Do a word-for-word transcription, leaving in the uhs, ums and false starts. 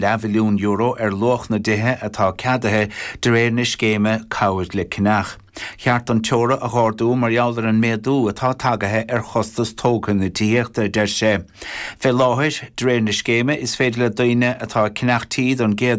leathmhilliún euro ar luach na dtithe atá ceadaithe de réir na scéime Cabhair le Ceannach. Cheart an teora a ardú mar gheall ar an méadú atá tagaithe ar chostas tógála na tithíochta deir sé. Fé láthair de réir na scéime is féidir le daoine atá ag ceannach tí don gcéad